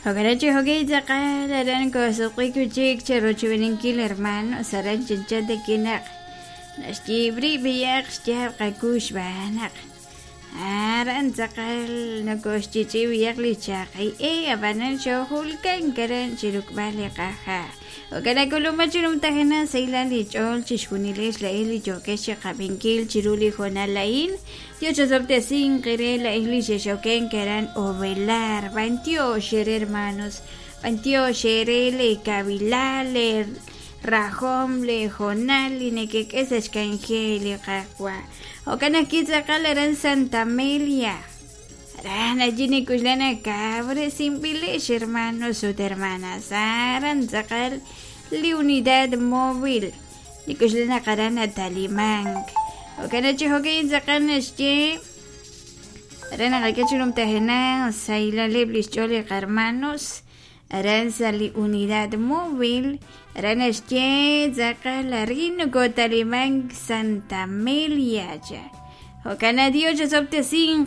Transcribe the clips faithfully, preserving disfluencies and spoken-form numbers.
Hogarachi hogei tzaqal aran kosuqikuchik cherochubininkil hermanos aran chinchate kinaq naxyibri biyaq xyab qakux b'anaq aran tzaqal nokoxchichi biyaq li chaqi e abanan xojulkan karan chirukb'al li qaja Okanakuluma chirumtajena saylan li ch'ol chixjunilex la li yokex chiqab'inkil chiru li jonalain Dios qire la isli xexoken karan ovelar bantio xere hermanos bantio xere le kabilal le rajom le jonal nekek'es xkanje li qaqwa Okanaki tzaqal aran Santa Amelia aran allí nikuxlana cabre simpilex hermanos ut hermanas aran tzaqal li unidad móvil nikuxlana qaran atalimank Okanachi hokei tzaqal naxye aran aqakachunum tajena saylaleb lixch'ol li qarmanos aran sa li unidad móvil aran naxye tzaqal arin nokotalimank Santa Amelia cha Okana Dios sin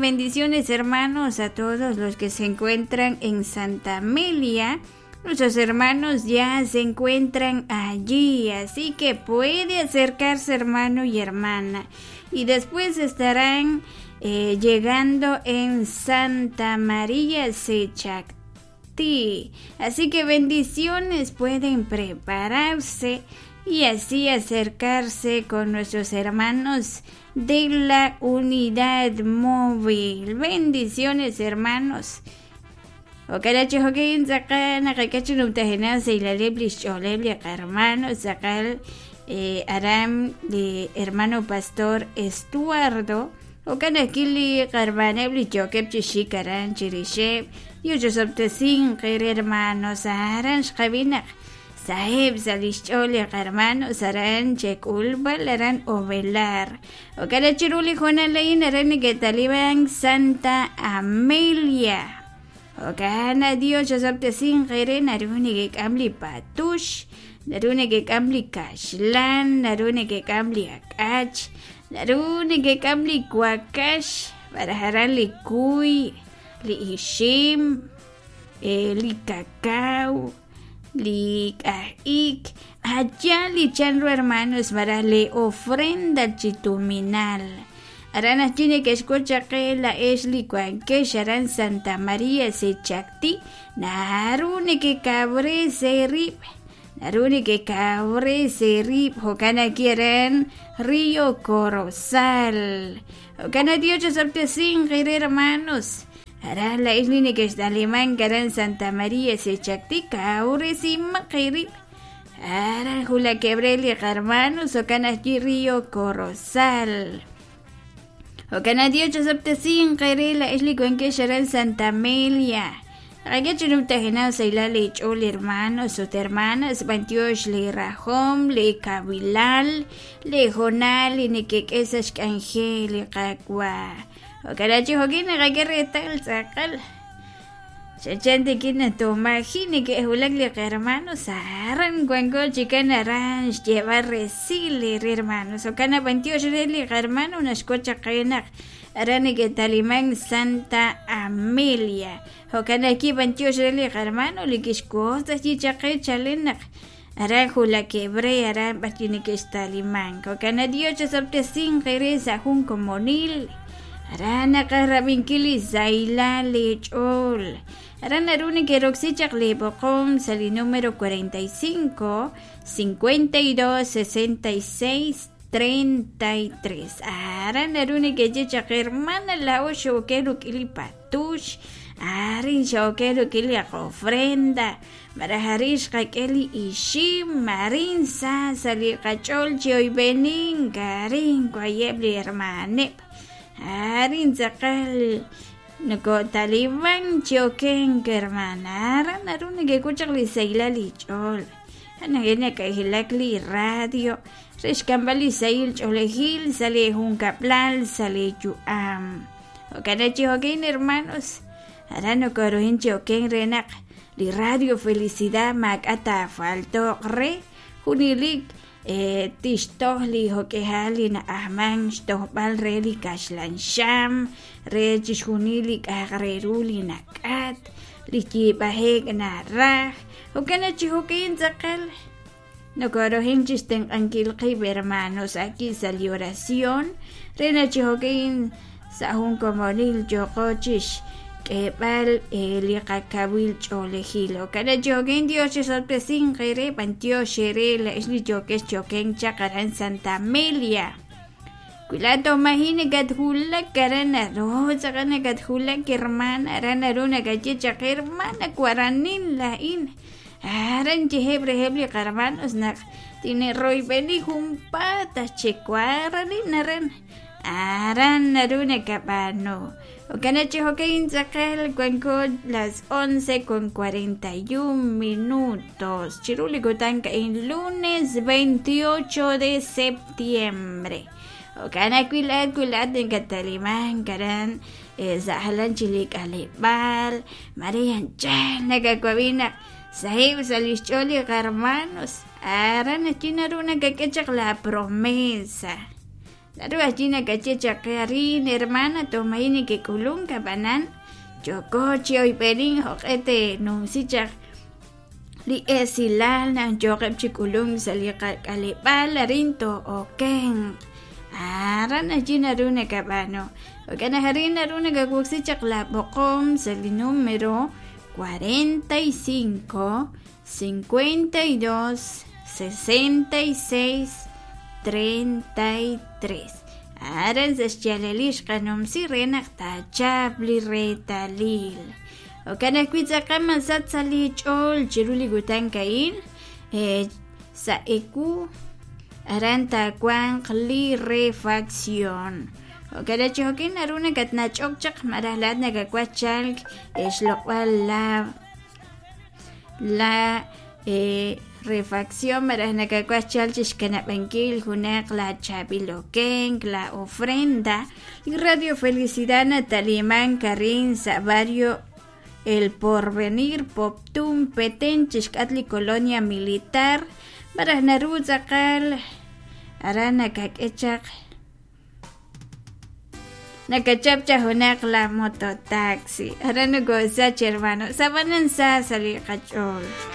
bendiciones hermanos a todos los que se encuentran en Santa Amelia. Nuestros hermanos ya se encuentran allí, así que puede acercarse hermano y hermana. Y después estarán eh, llegando en Santa María Sechactí. Así que bendiciones, pueden prepararse y así acercarse con nuestros hermanos de la unidad móvil. Bendiciones, hermanos. Okarachi hokin tzaqal naqakachin umtajena seilaleb lixch'oleb li qarmano tzaqal eh, aram li hermano pastor Estuardo okanaki li qarmaneb li chokeb chixik aran chirixeb yuchosoptesin qir hermanos aran xqabinaq saheb sa lixch'ol li qarmanos aran chek'ulb'al aran ovelar okarachi ruli jonalain aran neketaliban Santa Amelia Okana Dios sin qere narune ke kamli patush narune ke kamli kashlan narune ke kamli akach narune ke kamli kuakash barajaran li kuy li ishim eh, li cacao li ik allá li chanro hermanos para le ofrenda chituminal Arana chine que escucha que la esli cuanque aran Santa María se chacti narune que cabre se rip narune que cabre se rip jocana quieren Río Corozal jocana Dios sin querer hermanos aran la esli que está alemán aran Santa María se chacti cabre sin maquirip aran jula quebreli hermanos jocana aquí Río Corozal Okana Dios sin qerela esli cuenque sharan Santa Amelia. Ragachunum tajena sailale chol hermanos o hermanas bantiosh le rajom le kabilal le jonal nekek'esas k'anje le qakwa. Okanachi hokin ragerretal tzaqal. Chachante kina tomajine que hulak le hermanos aran cuango chicana ranch llevar resile hermanos okana bantiosh le hermano unas cocha qenak arane que talimán Santa Amelia okana aquí bantiosh le hermano le quiscosta chichaqe chalenak aran jula quebre aran batine que talimán okana Dios sin jereza jun comonil arana qarrabinkili zaila lechol aran aruni que roxichaq leboqom sali número cuarenta y cinco, cincuenta y dos, sesenta y seis, treinta y tres aran aruni que yechaq hermana la ocho que rukili patush arin xoke rukili ofrenda marajarish qak'eli ixim marin sa sali qach'ol chioybenin karin kuayebli hermaneb arin tzaqal noko taliban choken hermana aran aruni que kuchaq li sayla li ch'ol anagena kajilak li radio rexkambali sayil ch'olejil sale junkaplal sale yuam okanachi hokin hermanos aran nokorohin choken renaq li radio felicidad mak'ata faltoq re junilik eh tixtoj li jok'ejal li na'ajman xtojb'al re li kaxlan xam re chixjunil li k'aj reru li nak'at li yiib'ajek naraj jo'kan chi jo'kin tz'aqal nokorohin chixtenq'ankil qib' hermanos aquí sa' li oración re naq chi jo'kin sa' jun komonil yoqo chix k'eeb'al li qakawil ch'oolejil jo'kan chi jo'kin Dios chisorpresinq eere b'antiox eere la'ex li yokex choken chaq aran Santa Amelia Cuilato maji nakatjulak aran naru tz'aqal nakatjulak hermana aran naru nakaye chaq hermana waranin la'in aran yeheb' reheb' li qarmanos naq tine'royb'eni junpaat chekuaranin aran aran naru nakab'aanu jo'kan chi jo'kan tz'aqal wanko las once con cuarenta y un minutos chiru li kutan ka'in lunes veintiocho de septiembre jo'kan ajwi' wilaat nakataliman aran sa' jalan chi li k'aleb'aal Maria anchal nakawab'i naq sahib' sa' li xch'ool li qarmanos aran ajwi' naru nakak'e chaq la promesa naru ajwi' nakaye chaq qe arin hermana tomayi nekek'ulunk ab'anan yoko chi oyb'enin jo'q'e tenumsi chaq li esilal naq yoqeb' chi k'ulunk sa' li qak'aleb'aal arin to'okenq aran ajwi' naru nakab'aanu jo'kan naq arin naru nakawoksi chaq la b'oqom sa' li número cuarenta y cinco, cincuenta y dos, sesenta y seis, treinta y tres aran sa' xyaalalil xqanumsi re naq taachap li reetalil jo'kan ajwi' tz'aqal masat sa' li ch'ool chiru li kutan ka'in sa' ewu aran taawanq li refacción jo'kan chi jo'kin naru nakatnach'ok chaq malaj laat nakawaj chalk xloq'b'al la la refacción malaj nakawaj chalk chixkanab'ankil junaq la chaab'il okenk la ofrenda li Radio Felicidad nataliman arin sa' barrio El Porvenir Poptún Petén chixk'at li Colonia Militar malaj naru tz'aqal aran nakak'e chaq nakachap chaq junaq la mototaxi aran nokosach hermano sabanan sa sa li qach'ool.